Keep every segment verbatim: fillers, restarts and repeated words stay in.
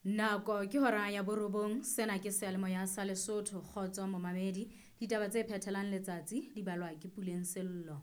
Nako ke hora ya borobong, sena ke seyalemoya sa Lesotho, kgotso momamedi. Ditaba tse phethelang letsatsi di balwa ke Puleng Sello.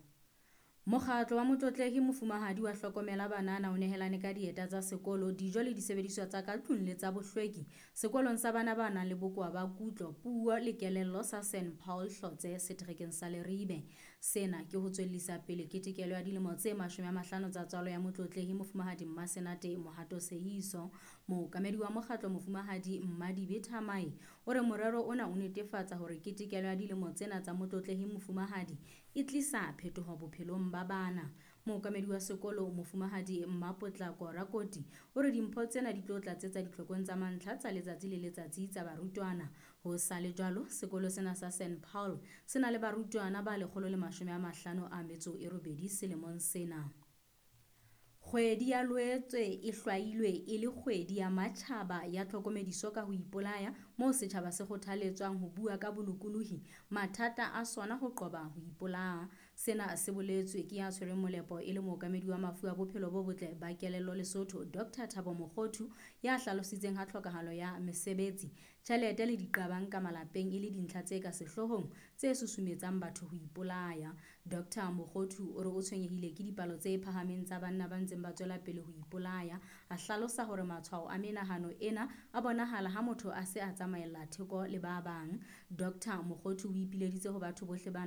Mokgatlo wa Motlotlehi Mofumahadi wa Hlokomela Banana o nehelane ka dieta tsa sekolo, dijo le disebediswa tsa ka tlung le tsa bohlweki sekolong sa bana ba nang le bokowa ba kutlo, puo le kelello sa Saint Paul Hlotse seterekeng sa Leribe. Sena ke ho tswellisa pele ketekelo ya dilemo tse mashome a mahlano tsa tswalo ya Motlotlehi Mofumahadi Mmasenate Mohato Seeiso. Mookamedi wa mokgatlo Mofumahadi Mmadibe Thamae o re morero ona o netefatsa hore ketekelo ya dilemo tsena tsa Motlotlehi Mofumahadi e tlisa phetoho bophelong ba bana. Mookamedi wa sekolo Mofumahadi Mmapotlako Rakoti o re dimpho tsena di tlo tlatsetsa ditlhokong tsa mantlha tsa letsatsi le letsatsi tsa barutwana. Ho sa le jwalo, sekolo sena sa Saint Paul se na le barutwana ba lekgolo le mashome a mahlano a metso e robedi selemong sena. Kgwedi ya Loetse e hlwailwe e le kgwedi ya matjhaba ya tlhokomediso ka ho ipolaya, moo setjhaba se kgothaletswang ho bua ka bolokolohi mathata a sona ho qoba ho ipolaya. Sena se boletswe ke ya tshwereng molepo e le mookamedi wa mafu a bophelo bo botle ba kelello Lesotho, Doctor Thabo Mokgothu, ya hlalositseng ha tlhokahalo ya mesebetsi, tjhelete le diqabang ka malapeng e le dintlha tse ka sehloohong tse susumetsang batho ho ipolaya. Doctor Mokgothu o re o tshwenyehile ke dipalo tse phahameng tsa banna ba ntseng ba tswela pele ho ipolaya. A hlalosa hore matshwao a menahano ena a bonahala ha motho a se a tsamaella theko le ba bang. Doctor Mokgothu o ipileditse ho batho bohle ba nang